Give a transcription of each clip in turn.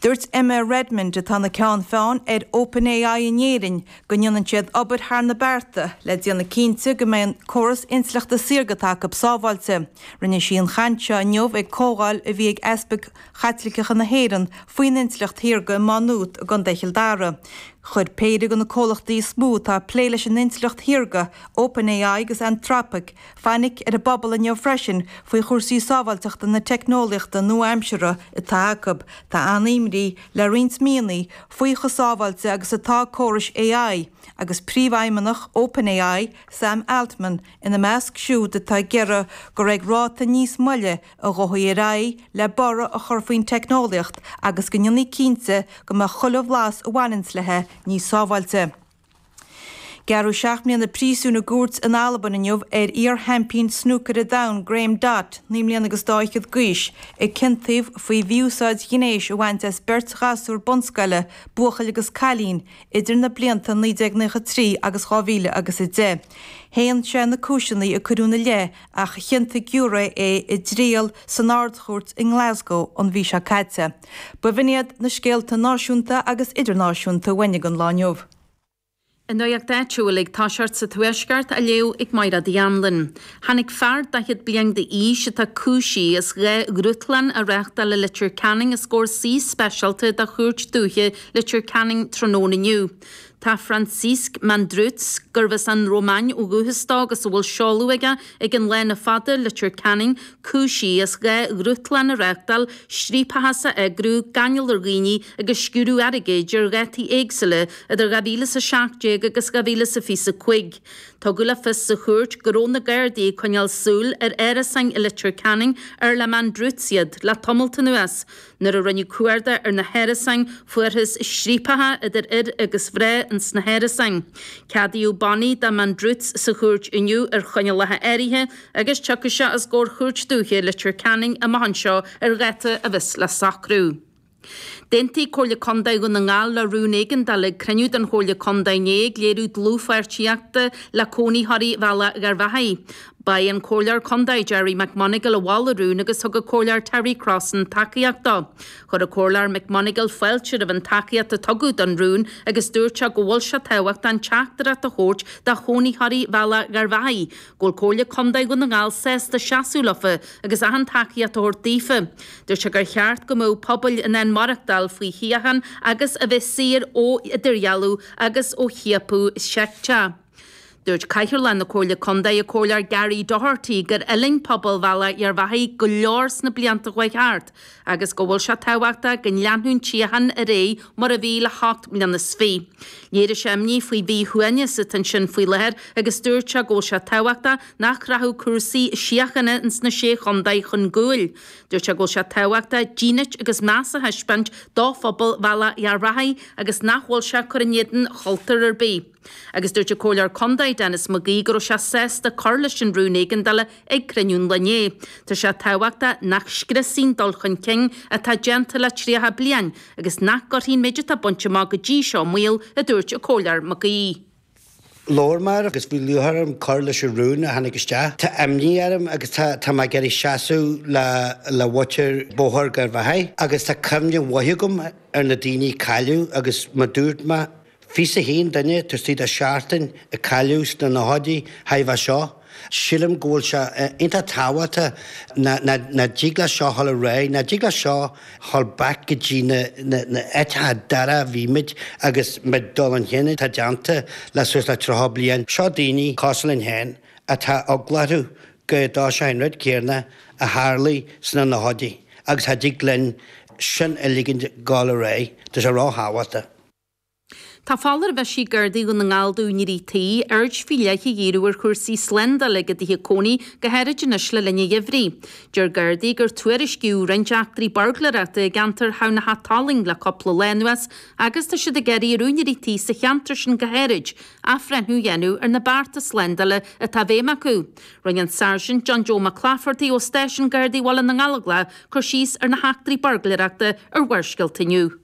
Dúirt Emma Redmond, atá ina ceann feadhain ar OpenAI in Éirinn, go ndéanann siad obair thar na bearta le déanamh cinnte go mbeidh an córas intleachta saorga atá acu sábháilte. Rinne sí an chaint seo inniu ag comhdháil a bhí ag Easpaig Chaitliceacha na hÉireann faoin intleacht shaorga i Má Nuat i gContae Chill Dara. Chuir péire de na comhlachtaí is mó atá ag plé leis an intleacht shaorga, OpenAI agus Anthropic, fainic ar an bpobal inniu freisin faoi chúrsaí sábháilteachta na teicneolaíochta nua-aimseartha atá acu. Tá an-imní le roinnt míonna faoi chomh sábháilte agus atá córais AI, agus príomhfheidhmeannach OpenAI, Sam Altman, ina measc siúd atá ag iarraidh gur ag ráta níos moille a ghabhfaí ar aghaidh le borradh a chur faoin teicneolaíocht agus go ndéanfaí cinnte go mbeadh chuile bhlas a bhaineanns léi níos sábháilte. Gearradh 7 mbliana príosúin i gcúirt in Albain inniu ar iar-sheaimpín snúcair an domhain Graeme Dott, 9 mbliana agus dá fhichead d'aois, a ciontaíodh faoi mhí-úsáid ghnéis a bhaint as beirt ghasúr bunscoile, buachaill agus cailín, idir na blianta 1993 agus 2000 agus 10. Shéan sé na cúiseanna a cuireadh ina leith ach chiontaigh giúiré é i dtriail san Ard-Chúirt i nGlasgow an mhí seo caite. B'in iad na scéalta náisiúnta agus idirnáisiúnta uainn don lá inniu. An nuacht áitiúil ag toiseacht sa Tuaisceart á léamh ag Mairéad Uí Anluain. Tháinig fear 40 bliain d'aois atá cúisithe as 2 ghrútlann a reáchtáil i Leitir Ceanainn os comhair suí speisialta de Chúirt Dúiche Leitir Ceanainn tráthnóna inniu. Tá Francisc Mandruț, gurbh as an Rómáin ó dhúchas dó agus a bhfuil seoladh aige ag an Lána Fada, Leitir Ceanainn, cúisithe as 2 ghrútlann a reáchtáil, striapachas a eagrú, gáinneáil ar dhaoine agus sciúradh airgid ar dhátaí éagsúla idir 2017 agus 2025. Tugadh le fios sa chúirt go raibh na Gardaí ag coinneáil súil ar árasáin i Leitir Ceanainn ar le Mandruț iad le tamalt anuas. Nuair a rinneadh cuardach ar na hárasáin fuarthas striapacha idir fhir agus mhná ins na hárasáin. Ceadaíodh bannaí do Mandruț sa chúirt inniu ar choinníollacha áirithe agus tiocfaidh sé os comhair Chúirt Dúiche Leitir Ceanainn amach anseo ar dháta a bheas le socrú. D'aontaigh Comhairle Contae Dhún na nGall le rún éigeandála ag cruinniú den Chomhairle Contae inné ag léiriú dlúthpháirtíochta le cónaitheoirí Bhealach Gharbhachaidh. Ba é an Comhairleoir Contae Gerry McMonagle a mhol an rún agus thug an Comhairleoir Terry Crossan tacaíocht dó. Chuir an Comhairleoir McMonagle fáilte roimh an tacaíocht a tugadh don rún agus dúirt sé go bhfuil sé tábhachtach an teachtaireacht a thabhairt do chónaitheoirí Bhealach Gharbhachaidh go bhfuil Comhairle Contae Dhún na nGall sásta seasamh leofa agus achan tacaíocht a thabhairt daofa. Dúirt sé gur cheart go mbeadh pobail in ann maireachtáil faoi shíocháin agus a bheith saor ó idirdhealú agus ó chiapadh seicteach. Dúirt Cathaoirleach na Comhairle Contae, an Comhairleoir Gary Doherty, gur fhulaing pobal Bhealach Gharbhachaidh go leor sna blianta a chuaigh thart agus go bhfuil sé tábhachtach go leanfadh an tsíocháin ar aghaidh mar a bhí le hocht mbliana is fiche. Léirigh sé imní faoi mhíshuaimhneas atá ansin faoi láthair agus dúirt sé go bhfuil sé tábhachtach nach rachadh cúrsaí síochána ins na Sé Chontae chun gcúil. Dúirt sé go bhfuil sé tábhachtach dínit agus meas a thaispeáint do phobal Bhealach Gharbhachaidh agus nach bhfuil sé ag cur in éadan chultúr ar bith. Agus dúirt an Comhairleoir Contae Denis McGee go raibh sé sásta cur leis an rún éigeandála ag cruinniú an lae inné. Tá sé tábhachtach nach scriosfaí an dul chun cinn atá déanta le 30 bliain agus nach gcuirfí an méid atá bainte amach go dtí seo i mbaol, a dúirt an Comhairleoir McGee. Labhair mé agus bhí lúcháir orm cur leis an rún a tháinig isteach. Tá imní orm agus tá tá mé ag iarraidh seasamh le le mhuintir Bóthar Gharbhachaidh agus tá cuimhne mhaith agam ar na daoine a cailleadh agus mar dúirt mé 21 duine taobh istigh de sheachtain a cailleadh sna nóchaidí roimhe seo. Sílim go bhfuil sé iontach tábhachtach nach dtig leis seo dhul ar aghaidh, nach dtig leis seo dhul back go dtí na áiteacha dorcha a bhí muid agus muid dul chun cinn atá déanta le suas le 30 bliain. Seo daoine cosúil linn féin atá eagla orthu go dtarlóidh sé an rud céanna a tharlaigh sna nóchaidí agus cha dtig linn sin a ligint dhul ar aghaidh. Tá sé ró-thábhachtach. Tá foláireamh eisithe ag Gardaí Dhún na nGall d'úinéirí tí, aird faoi leith a dhíriú ar chúrsaí slándála ag a dtithe cónaí, go háirid anois le linn an gheimhridh. Deir Gardaí gur tuairiscíodh roinnt eachtraí buirgléireachta i gceantar Thamhnach Tolaing le cúpla lá anuas agus tá siad ag iarraidh ar úinéirí tí sa cheantar sin go háirid, athbhreithniú a dhéanamh ar na bearta slándála atá i bhfeidhm acu. Rinne an Sáirsint John Joe Mac Claifertaigh ó Stáisiún Gardaí Bhaile na nGallóglach cur síos ar na heachtraí buirgléireachta ar Bharrscéalta inniu.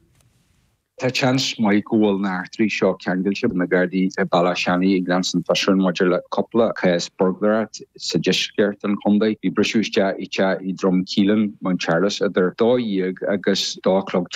Tá seans maith go bhfuil na heachtraí seo ceangailte. Na Gardaí i Bealach Seanaidh ag leanstan fiosrúchán maidir le cúpla cás buirgléireacht sa deisceart an chontae. Bhí briseadh isteach i teach i Droim Caoláin, Mountcharles idir 12 agus 2 a chlog.